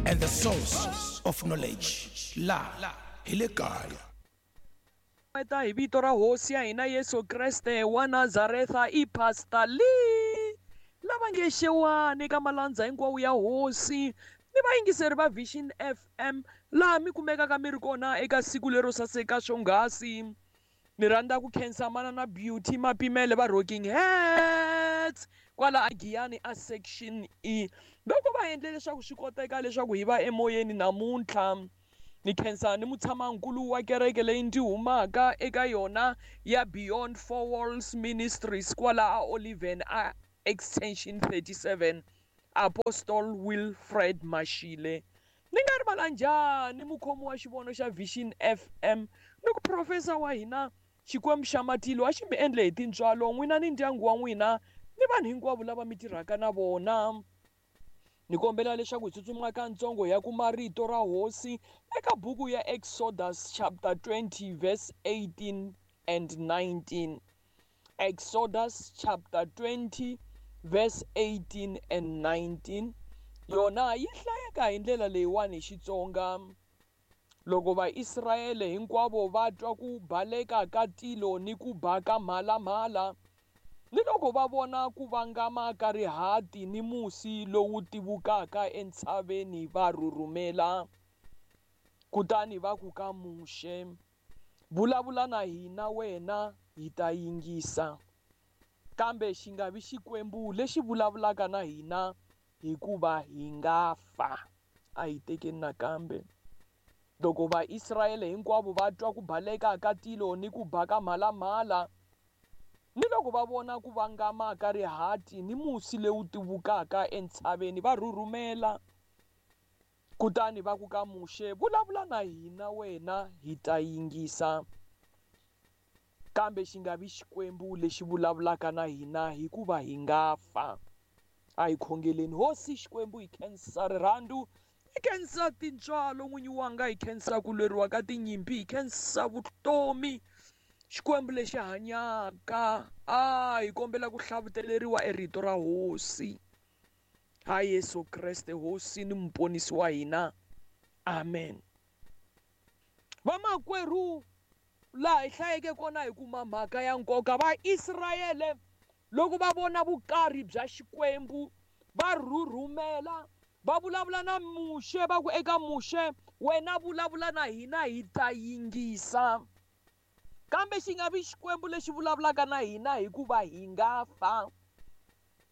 And the source of knowledge. La hi le kaya. Ta hi vito ra hosi ya hina Yesu Kreste wa Nazaretha i Pastor Lee lava nge xewani ka malandza hinkwawo ya hosi ni vayingiseri va Vision FM laha mi kumekaka mi ri kona eka siku lero saseka swonghasi. Ni rhandza ku khensa manana Beauty Mapimele va Rocking Heads kwala a Giyani a Section E loko va endle leswaku swi koteka leswaku hi va emoyeni namuntlha. Ni khensa ni mutshamankulu wa kereke leyi ndzi humaka eka yona ya Beyond Four Walls Ministries kwala a Oliven a Extension 37 Apostle Wilfred Mashile. Ni nga rivala njhani mukhomi wa xivono xa Vision FM ni ku profesa wa hina Xikwembu xa matilo a xi mi endle hi tintswalo n'wina ni ndyangu wa n'wina ni vanhu hinkwavo lava mi tirhaka na vona. Ni kombela leswaku hi tsutsuma katsongo hi ya kuma rito ra hosi eka buku ya Exodus chapter 20 verse 18 and 19. Exodus chapter 20 verse 18 and 19 yona yi hlayeka hi ndlela leyiwani hi Xitsonga. Loko Vaisrayele hinkwavo va twa ku baleka ka tilo ni ku ba ka mhalamhala, ni loko va vona ku vangama ka rihati ni musi lowu tivukaka entshaveni va rhurhumela. Kutani va ku ka Muxe, vulavula na hina wena hi ta yingisa, kambe xi nga vi Xikwembu lexi vulavulaka na hina hikuva hi nga fa. A hi tekeni nakambe. Loko Vaisrayele hinkwavo va twa ku baleka ka tilo ni ku ba ka mhalamhala, ni loko va vona ku vangama ka rihati ni musi lowu tivukaka entshaveni va rhurhumela. Kutani va ku ka Muxe, vulavula na hina wena hi ta yingisa, kambe xi nga vi Xikwembu lexi vulavulaka na hina hikuva hi nga fa. A hi khongeleni. Hosi Xikwembu, hi khensa rirhandzu, hi khensa tintswalo n'winyi wanga, hi khensa ku lweriwa ka tinyimpi, hi khensa vutomi Xikwembu lexi hanyaka. A hi kombela ku hlavuteleriwa erito ra hosi ha Yesu Kreste hosi ni muponisi wa hina. Amen. Vamakwerhu, laha hi hlayeke kona hi kuma mhaka ya nkoka. Vaisrayele loko va vona vukarhi bya Xikwembu va rhurhumela, va vulavula na Muxe va ku eka Muxe, wena vulavula na hina hi ta yingisa, kambe xi nga vi Xikwembu lexi vulavulaka na hina hikuva hi nga fa.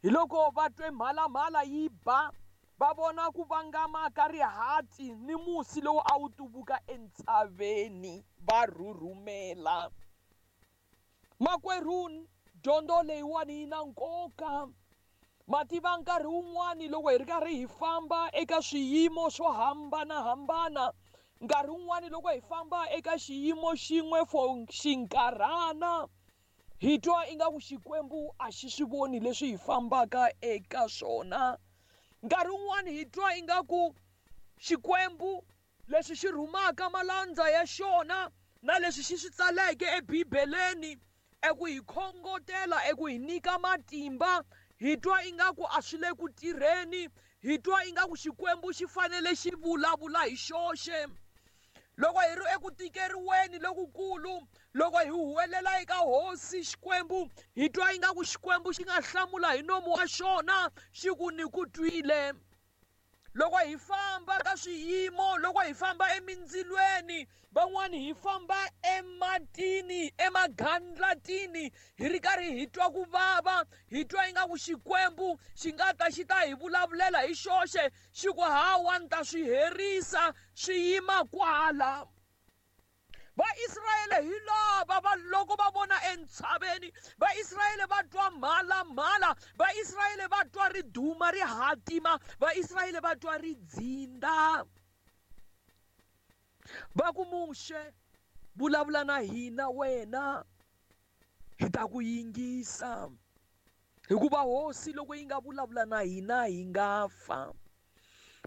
Hi loko va twe mhalamhala yi ba, va vona ku vangama ka rihati ni musi lowu a wu tuvuka entshaveni, va rhurhumela. Makwerhu, dyondzo leyiwani yi na nkoka. Mativa nkarhi wun'wani loko hi ri karhi hi famba eka swiyimo swo hambanahambana, nkarhi wun'wani loko hi famba eka xiyimo xin'we for xinkarhana, hi twa ingaku Xikwembu a xi swi voni leswi hi fambaka eka swona. Nkarhi wun'wani hi twa ingaku Xikwembu leswi xi rhumaka malandza ya xona na leswi xi swi tsaleke eBibeleni eku hi khongotela, eku hi nyika matimba, hi twa ingaku a swi le ku tirheni, hi twa ingaku Xikwembu xi fanele xi vulavula hi xoxe. Loko hi ri eku tikeriweni lokukulu, loko hi huwelela eka hosi Xikwembu, hi twa ingaku Xikwembu xi nga hlamula hi nomu wa xona xi ku ni ku twile. Loko hi famba ka swiyimo, loko hi famba emindzilweni, van'wani hi famba ematini, emagandlatini, hi ri karhi hi twa ku vava, hi twa ingaku Xikwembu xi nga ta xi ta hi vulavulela hi xoxe, xi ku hawa ni ta swi herisa, swi yima kwala. Vaisrayele hi lava va loko va vona entshaveni, Vaisrayele va twa mhalamhala, Vaisrayele va twa riduma ri hatima, Vaisrayele va twa ridzinda. Va ku Muxe, vulavula na hina wena, hi ta ku yingisa, hikuva hosi loko yi nga vulavula na hina hi nga fa.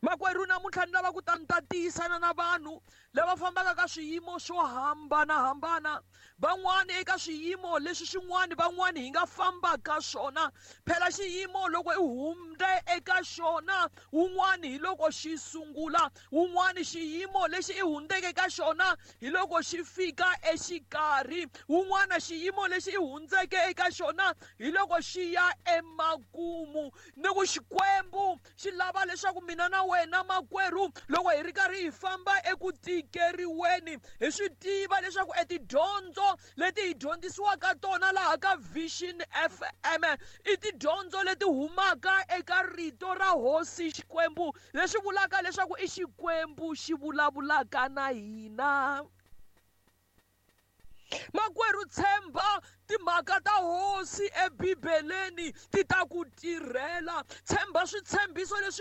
Makwerhu namuntlha Namuntlha ni lava ku ta ni ta tiyisana na vanhu lava fambaka ka swiyimo swo hambanahambana, van'wani eka swiyimo leswi swin'wani, van'wani hi nga famba ka swona. Phela xiyimo loko i hundze eka xona, wun'wani hi loko xi sungula, wun'wani xiyimo lexi i hundzeke ka xona hi loko xi fika exikarhi, wun'wana xiyimo lexi i hundzeke eka xona hi loko xi ya emakumu. Ni ku Xikwembu xi lava leswaku mina na wena makwerhu, loko hi ri karhi hi famba eku tikeriweni, hi swi tiva leswaku etidyondzo leti hi dyondzisiwaka tona laha ka Vision FM i tidyondzo leti humaka eka rito ra Hosi Xikwembu, leswi vulaka leswaku i Xikwembu xi vulavulaka na hina. Makwerhu, tshemba timhaka ta Hosi eBibeleni, ti ta ku tirhela. Tshemba switshembiso leswi